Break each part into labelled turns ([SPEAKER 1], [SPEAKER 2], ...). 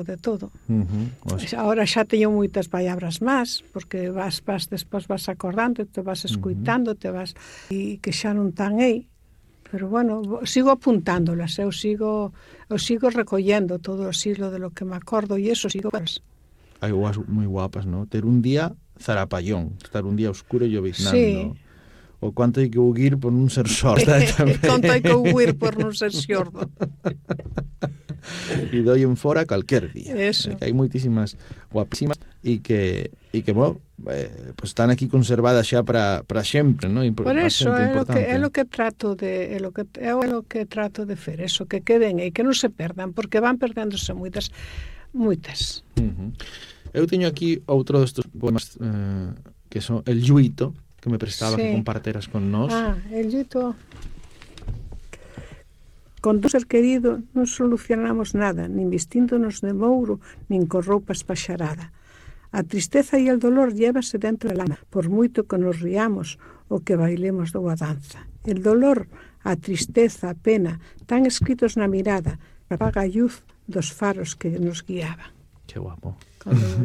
[SPEAKER 1] de todo.
[SPEAKER 2] Os-
[SPEAKER 1] Ahora xa teño moitas palabras máis, porque despois vas acordando, te vas escuitando, e que xa non tan aí. Pero bueno, sigo apuntándolas, eu sigo recollendo todo o siglo de lo que me acordo e eso sigo.
[SPEAKER 2] Hai guas moi guapas, ¿no? Ter un día zarapallón, estar un día oscuro e lloviznando.
[SPEAKER 1] Sí.
[SPEAKER 2] O cuánto hai que huir por non ser sorda tamén.
[SPEAKER 1] Conto hai que huir por non ser xordo.
[SPEAKER 2] E doi en fora calquer día.
[SPEAKER 1] Eso.
[SPEAKER 2] Que hai moitísimas guapísimas e que bueno, pues están aquí conservadas xa para sempre, ¿no?
[SPEAKER 1] Por eso é
[SPEAKER 2] importante.
[SPEAKER 1] lo que trato de fer, eso, que queden e que non se perdan, porque van perdéndose moitas.
[SPEAKER 2] Eu teño aquí outro destes poemas que son El Lluito, que me prestaba que comparteras con nós.
[SPEAKER 1] El Lluito. Con do ser querido non solucionamos nada, nin vistíndonos de mouro, nin con roupa espaxarada. A tristeza e el dolor llévase dentro da alma, por moito que nos riamos ou que bailemos dunha danza. El dolor, a tristeza, a pena, tan escritos na mirada, apaga a luz dos faros que nos guiaban.
[SPEAKER 2] Que guapo.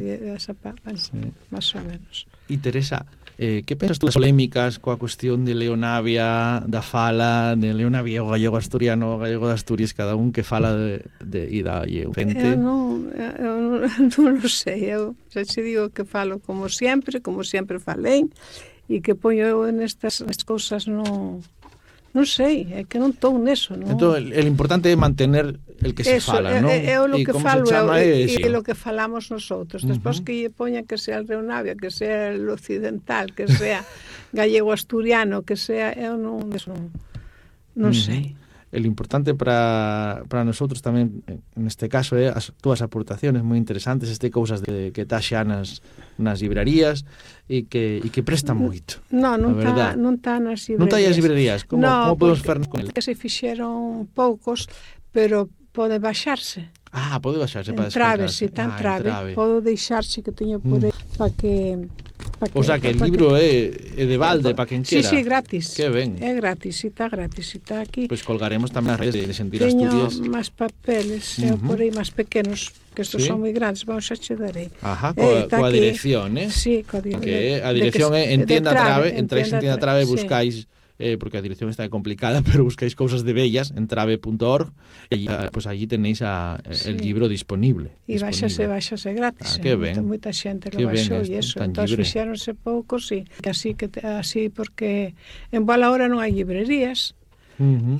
[SPEAKER 1] Esa máis ou menos.
[SPEAKER 2] E Teresa, que pensas tú das polémicas coa cuestión de Leonavia, da fala de Leonavia, o gallego asturiano, o gallego de Asturias, cada un que fala de ida e eu gente?
[SPEAKER 1] Eu non o sei, eu xa te digo que falo como sempre falei, e que poño eu nestas cousas non sei, é que non estou neso, non?
[SPEAKER 2] Entón, el importante é mantener el que se fala, non?
[SPEAKER 1] É o que falo e
[SPEAKER 2] o
[SPEAKER 1] lo que falamos nosotros. Despois que lle poñan que sea el Leonavia, que sea el occidental, que sea gallego asturiano, que sea, eu non sei.
[SPEAKER 2] El importante para nosotros tamén, neste caso, é as túas aportaciones moi interesantes, cousas que tá xa nas librarías e que prestan moito.
[SPEAKER 1] Non tá nas librerías.
[SPEAKER 2] Non tá as librerías? Como podemos fernos con el?
[SPEAKER 1] Que se fixeron poucos, pero pode baixarse.
[SPEAKER 2] Pode baixarse para
[SPEAKER 1] descargarse.
[SPEAKER 2] Entrave.
[SPEAKER 1] Podo deixarse que teño por aí para que...
[SPEAKER 2] O sea, que el libro é de balde para quen quera.
[SPEAKER 1] Sí, gratis.
[SPEAKER 2] Que ben.
[SPEAKER 1] É gratis, está aquí.
[SPEAKER 2] Pois colgaremos tamén as redes de Sentir Asturias.
[SPEAKER 1] Teño máis papeles, por aí máis pequenos, que estos son moi grandes, vamos a che darei.
[SPEAKER 2] Coa dirección,
[SPEAKER 1] Sí, coa dirección.
[SPEAKER 2] Que a dirección é Entienda Trave, entráis en Entienda Trave, buscáis, porque a dirección está complicada, pero buscáis cousas de bellas en trave.org e pues allí tenéis el libro disponible.
[SPEAKER 1] E baixase gratis.
[SPEAKER 2] Que ben.
[SPEAKER 1] Moita xente lo baixou e eso. Entón fixéronse poucos, así porque en boa hora non hai librerías.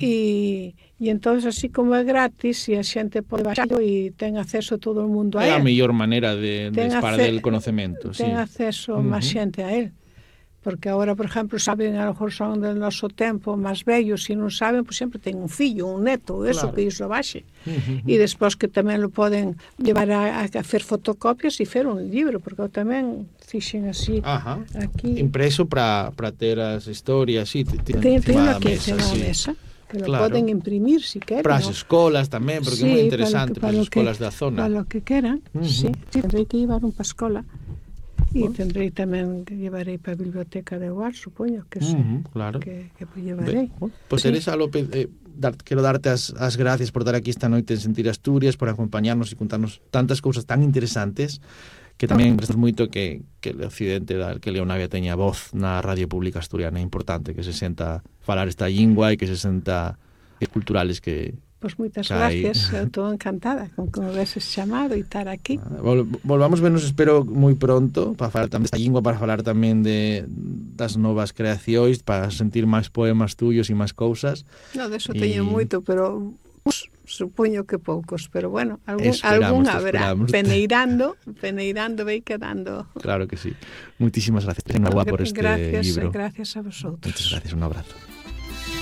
[SPEAKER 1] E entón, así como é gratis e a xente pode baixarlo e ten acceso todo o mundo a él.
[SPEAKER 2] É a mellor maneira de esparder el conocemento.
[SPEAKER 1] Ten acceso máis xente a él. Porque agora, por exemplo, saben, a lo mejor son del noso tempo máis vellos, e non saben, pois sempre ten un fillo, un neto, eso, que iso baixe. E despois que tamén lo poden levar a fer fotocopias e fer un libro, porque eu tamén fixen así aquí.
[SPEAKER 2] Impreso para ter as historias, sí,
[SPEAKER 1] ten aquí encima da mesa, que lo poden imprimir si queren.
[SPEAKER 2] Para as escolas tamén, porque é moi interesante para as escolas da zona.
[SPEAKER 1] Para lo que queran, sí, tendrei que llevar un pa escola. E tendrei tamén que llevarei para a biblioteca de Guar, supoño que sí,
[SPEAKER 2] claro.
[SPEAKER 1] que llevarei.
[SPEAKER 2] Pois Teresa López, quero darte as gracias por estar aquí esta noite en Sentir Asturias, por acompañarnos e contarnos tantas cousas tan interesantes, que tamén prestas moito que o occidente, que Leonavia teña voz na radio pública asturiana. É importante que se senta falar esta lingua e que se senta culturales que...
[SPEAKER 1] Pois moitas gracias, eu estou encantada con que me veses chamado e estar aquí.
[SPEAKER 2] Volvamos vernos, espero, moi pronto para falar tamén desta lingua, para falar tamén das novas creacións, para sentir máis poemas tuyos e máis cousas.
[SPEAKER 1] Non, deso teño moito, pero supoño que poucos, pero bueno, algún haberá. Peneirando vai quedando.
[SPEAKER 2] Claro que sí. Muitísimas gracias. Enhorabuena por este libro.
[SPEAKER 1] Gracias a vosotros.
[SPEAKER 2] Muchas gracias, un abrazo.